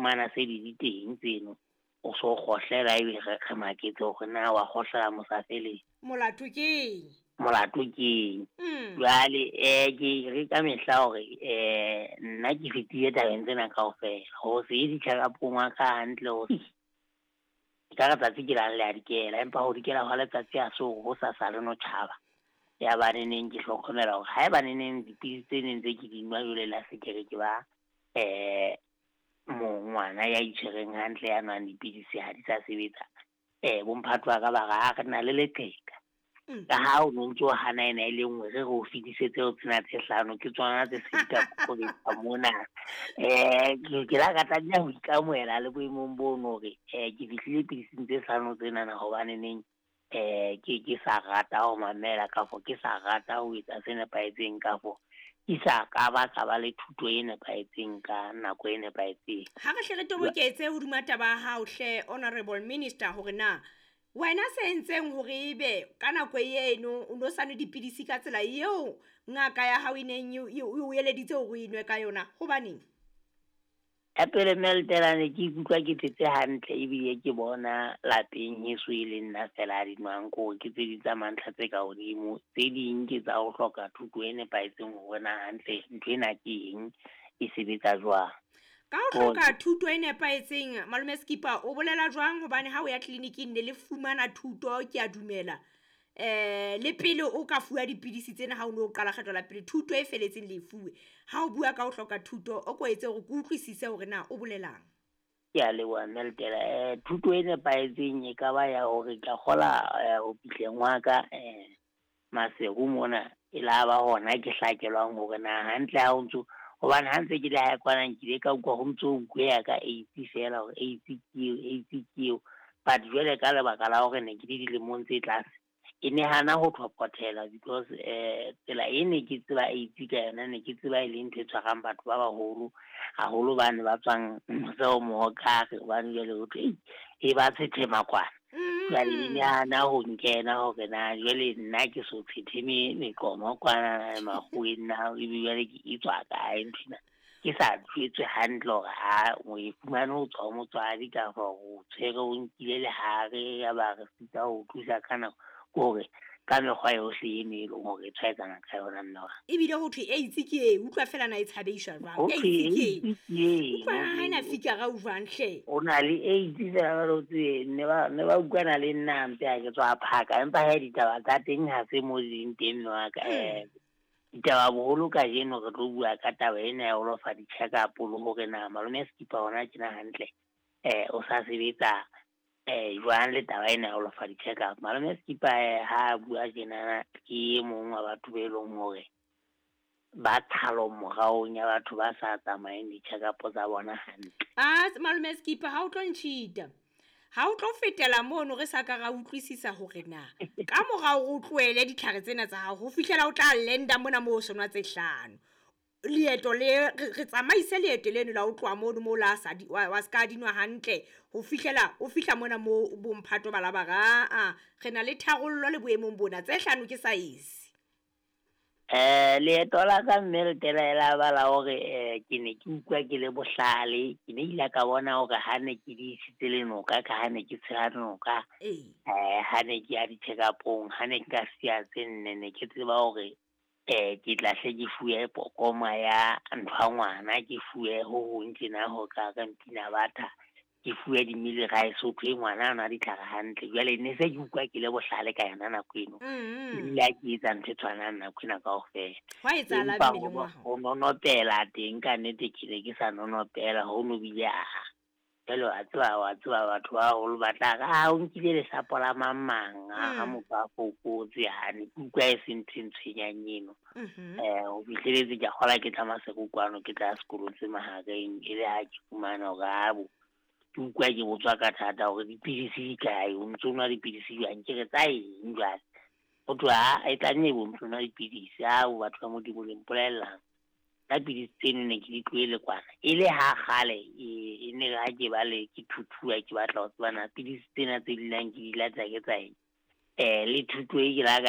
fumana se di le teng tseno, o so kgohlela ebe re maketse hore na wa kgohlela mosafeleng. Molato keng? Molato keng? Jwale ke re ka mehla hore nna ke fetile tabeng tsena kaofela. Ho se ye di-check-up-ong wa ka hantle ho ka re tsatsi ke lang le a dikela, empa ho dikela hwa letsatsi ha se hore ho sa sa le no tjhaba. Ya ba neneng ke hlokomela hore haeba neneng dipidisi tse neng tse ke di nwa jwale la se ke re ke ba ngwana ya itshwereng hantle ya nwang dipidisi ha di sa sebetsa. Bomphato ba ka ba re ha re na le leqheka. Ka ha o no ntso hana ena e le nngwe, re o fetisetse ho tsena tse hlano, ke tsona tse se di ka kokobetsa mona. Ke la ka tlameha ho ikamohela le boemong bono hore ke fihlile pidising tse hlano tsenana hobane neng ke sa rata ho mamela kafo ke sa rata ho etsa se nepahetseng kafo ke sa ka ba ka ba le thuto e nepahetseng ka nako e nepahetseng. Ha re hle re toboketse hodima taba ya hao hle, Honorable Minister, hore na wena se entseng hore ebe ka nako eno o no sa nwe dipidisi ka tsela eo ngaka ya hao e neng e o eleditse hore o e nwe ka yona, hobaneng? Ya pele mme ne ke ikutlwa ke phetse hantle ebile ke bona lapeng heso e le nna fela a di nwang, ko ke tse ding tsa mantlha tse ka hodimo, tse ding ke tsa ho hloka thuto e nepahetseng hore na hantle ntho ena ke eng, e sebetsa jwang. Ka ho hloka thuto e nepahetseng, Malome Skipper, o bolela jwang? Hobane ha o ya tleliniking ne le fumana thuto, ke a dumela. Le pele o ka fuwa dipidisi tsena ha o no qala kgetlo la pele, thuto e feletseng le e fuwe. Ha o bua ka ho hloka thuto, o ko etse hore ke utlwisise hore na o bolelang. Ke a leboha mme Letela. Thuto e nepahetseng e ka ba ya hore ka kgola ho fihleng wa ka Maseru mona, e la ba hona ke hlakelwang hore na hantle ha o ntso, hobane ha ntse ke le hae kwana nkile ka utlwa ho ntso ho bueha ka AIDS fela hore AIDS ke eo, AIDS ke eo. But jwale ka lebaka la hore ne ke le dilemong tse tlase, e ne hana ho thopothela because tsela e ne ke tseba AIDS ka yona, ne ke tseba e le ntho e tshwarang batho ba baholo haholo bane ba tswang mose ho Mohokare, hobane jwale ho thwe e ba tshethema kwana. Jwale e ne hana ho nkena hore na jwale nna ke so tshetheme meqomo kwana makgoweng na, ebe jwale ke e tswa kae nthwena. Ke sa jwetswe hantle hore ha o e fumane ho tswa ho motswadi kapa o tshwere o nkile lehare ya ba re sita ho thusa ka nako, hore ka mekgwa yohle eno e leng hore e tshwaetsana ka yona mme wa. Ebile ho thwe AIDS ke e, utlwa fela na e tshabeiswa jwang? Ho thwe AIDS ke e. AIDS ke e. Utlwa ha ena fikara o jwang hle? O na le AIDS fela jwale o tsebe, ne ba utlwana le nna hampe ha ke tswa phaka, empa he ditaba tsa teng ha se mo di leng teng mme wa ka. Ditaba boholo kajeno re tlo bua ka taba ena ya ho lofa di-check-up le hore na malome Skipper hona tjena hantle o sa sebetsa jwang le taba ena ya ho lofa di-check-up. Malome Skipper ha a bua tjenana ke e mong wa batho be leng hore ba thalo moraong ya batho ba sa tsamayeng di-check-up tsa bona hantle. Malome Skipper, ha o tlo ntjhita, ha o tlo fetela mono re sa ka ra utlwisisa hore na ka morao o tlohele ditlhare tsena tsa hao ho fihlela o tla lenda mona moo o sonwa tse hlano. Leeto le re tsamaise leeto leno la o tloha mono moo la sa wa ska dinwa hantle ho fihlela o fihla mona moo bomphato ba la ba ra re na le tharollo le boemong bona tse hlano ke size. Leeto la ka mme Letela la ba la hore ke ne ke utlwa ke le bohlale, ke ne ile ka bona hore ha ne ke di isitse le noka, ka ha ne ke tshela noka, ha ne ke ya di-check-up-ong, ha ne ke ka siya tse nne, ne ke tseba hore ke tla hle ke fuwe pokoma ya nthwa ngwana, ke fuwe ho hong tjena ho ka re mpina batha, ke fuwe di-mealie rice, ho thwe ngwana a nwa ditlhare hantle. Jwale ne se ke utlwa ke le bohlale ka yona nako eno. Ebile ha ke etsa ntho e tshwanang nako ena kaofela. Hwa etsahala Empa mmeleng wa hao? ho nonopela teng ka nnete ke ne ke sa nonopela, ho no bile a jwale wa tseba batho ba baholo ba tla re, o nkile lesapo la mang mang, ha motho a fokotse, ha ne ke utlwa e se ntho e ntshwenyang eno. Ho fihleletse ke a kgola ke tla Maseru kwano, ke tla sekolong se mahareng, e le ha ke fumana hore abo ke utlwa ke botswa ka thata hore dipidisi di kae, o ntso nwa dipidisi jwang, ke re tsa eng jwale? Ho thwe ha e tla nne bo ntso nwa dipidisi, ao batho ba Modimo le mpolellang. Ka pidisi tseno ne ke di tlohele kwana. E le ha kgale, e ne ha ke ba le ke thuthuwa ke batla ho tseba na pidisi tsena tse dulang ke di lata ke tsa eng. Le thuto e ke la ka